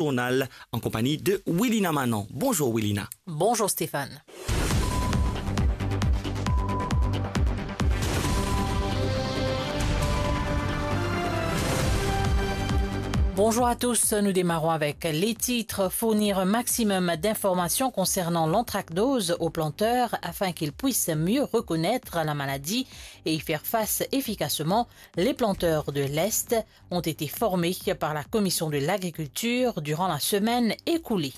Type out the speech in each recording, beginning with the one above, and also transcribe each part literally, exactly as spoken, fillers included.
journal en compagnie de Willina Manon. Bonjour Willina. Bonjour Stéphane. Bonjour à tous, nous démarrons avec les titres. Fournir un maximum d'informations concernant l'anthracnose aux planteurs afin qu'ils puissent mieux reconnaître la maladie et y faire face efficacement. Les planteurs de l'Est ont été formés par la Commission de l'Agriculture durant la semaine écoulée.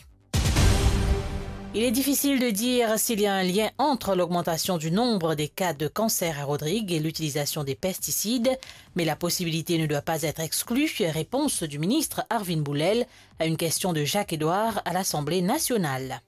Il est difficile de dire s'il y a un lien entre l'augmentation du nombre des cas de cancer à Rodrigues et l'utilisation des pesticides, mais la possibilité ne doit pas être exclue, réponse du ministre Arvin Boulel à une question de Jacques Edouard à l'Assemblée nationale.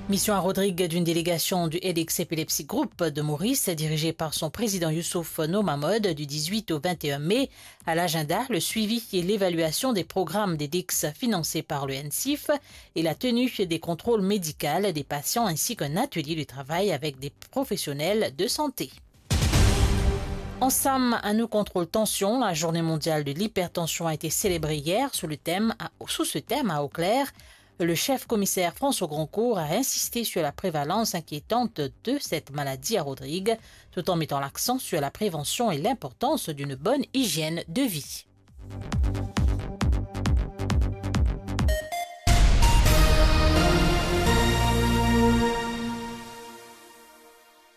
Mission à Rodrigues d'une délégation du Headaches Epilepsy Group de Maurice, dirigée par son président Youssouf Nour Mahmoud, du dix-huit au vingt et un mai. À l'agenda, le suivi et l'évaluation des programmes d'Headaches financés par le NCIF et la tenue des contrôles médicaux des patients ainsi qu'un atelier de travail avec des professionnels de santé. Ensemble, à nous contrôle tension, la journée mondiale de l'hypertension a été célébrée hier sous le thème à, sous ce thème à Eau Claire. Le chef commissaire François Grandcourt a insisté sur la prévalence inquiétante de cette maladie à Rodrigues, tout en mettant l'accent sur la prévention et l'importance d'une bonne hygiène de vie.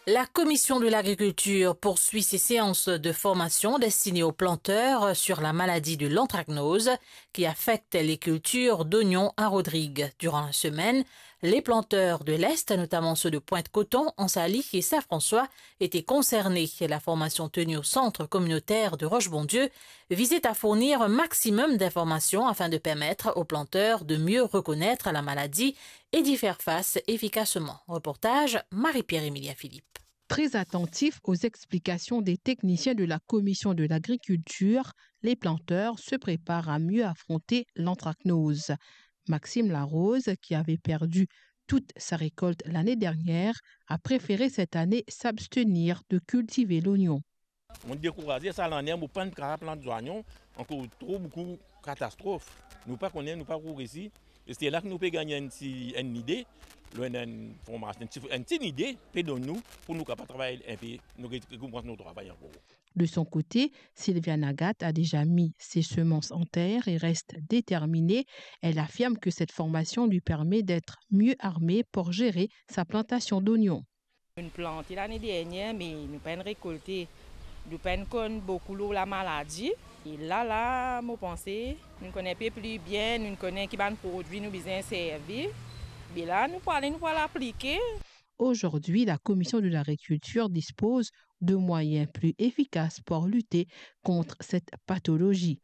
La Commission de l'Agriculture poursuit ses séances de formation destinées aux planteurs sur la maladie de l'anthracnose qui affecte les cultures d'oignons à Rodrigues. Durant la semaine, les planteurs de l'Est, notamment ceux de Pointe-Coton, Anse-Alix et Saint-François, étaient concernés. La formation tenue au centre communautaire de Roche-Bondieu visait à fournir un maximum d'informations afin de permettre aux planteurs de mieux reconnaître la maladie et d'y faire face efficacement. Reportage, Marie-Pierre Emilien Philippe. Très attentifs aux explications des techniciens de la Commission de l'Agriculture, les planteurs se préparent à mieux affronter l'anthracnose. Maxime Larose, qui avait perdu toute sa récolte l'année dernière, a préféré cette année s'abstenir de cultiver l'oignon. Mo dekouraz sa lane, mo pa'nn kapav plant zwayon, ankor tro boukou katastrof. Nou pa kone, nou pa progrese. E se la ki nou pe gagn enn ti, enn lide, lor enn, enn formasion, enn ti, enn ti lide pe donn nou pou nou kapav travay enpe, nou re-, rekomans nou travay ankor. De son côté, Sylvia Nagat a déjà mis ses semences en terre et reste déterminée. Elle affirme que cette formation lui permet d'être mieux armée pour gérer sa plantation d'oignons. Nou plante lane dernier, me nou pa'nn rekolte. Nou pa'nn konn boukou lor lamaladi. E la, la, mo panse, nou konn enpe pli bien, nou konn ki bann prodwi nou bizin servi. Be la, nou pou ale, nou pou al aplike. Aujourd'hui, la Commission de l'Agriculture dispose de moyens plus efficaces pour lutter contre cette pathologie.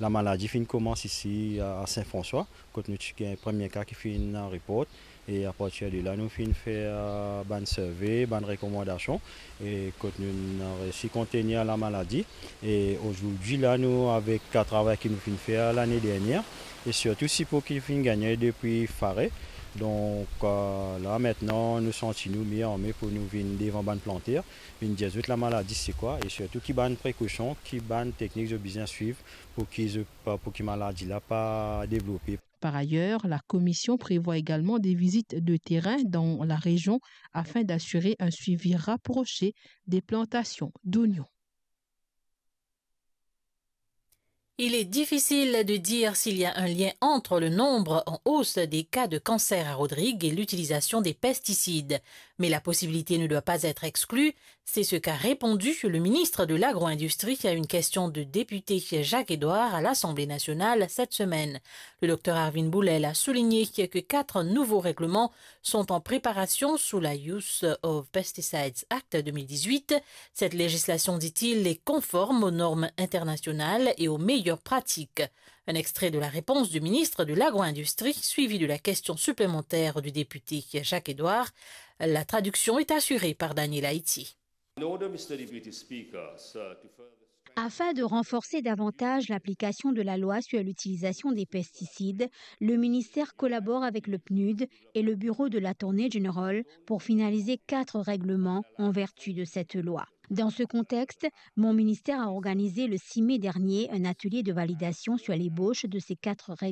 Lamaladi finn koumans isi a, a Saint-François, kot nou ti gagn premie ka ki finn report, e apartir de la, nou finn fer, eh, bann survey, bann rekomandasion, e kot nou, nou reysi kontenir lamaladi. E azordi la, nou, avek, eh, travay ki nou finn fer lane dernier, e sirtou sipo ki finn gagne depi Fare. Donk, eh, la, aster, nou santi nou mie arme pou nou vinn devan bann planter, vinn dir zot lamaladi se kwa, e sirtou ki bann prekosion, ki bann teknik zot bizin swiv pou ki zot pa, pou ki maladi la pa devlope. Par ailleurs, la commission prévoit également des visites de terrain dans la région afin d'assurer un suivi rapproché des plantations d'oignons. Il est difficile de dire s'il y a un lien entre le nombre en hausse des cas de cancer à Rodrigues et l'utilisation des pesticides. Mais la possibilité ne doit pas être exclue. C'est ce qu'a répondu le ministre de l'Agro-industrie à une question de député Jacques Edouard à l'Assemblée nationale cette semaine. Le docteur Arvin Boulel a souligné que quatre nouveaux règlements sont en préparation sous la Use of Pesticides Act deux mille dix-huit. Cette législation, dit-il, est conforme aux normes internationales et aux meilleures pratiques. Un extrait de la réponse du ministre de l'Agro-industrie, suivie de la question supplémentaire du député Jacques Edouard. La traduction est assurée par Daniel Haïti. In order, Mister Deputy Speaker, sir, to further strengthen... Afin de renforcer davantage l'application de la loi sur l'utilisation des pesticides, le ministère collabore avec le PNUD et le bureau de l'Attorney General pour finaliser quatre règlements en vertu de cette loi. Dans ce contexte, mon ministère a organisé le six mai dernier un atelier de validation sur l'ébauche de ces quatre règlements.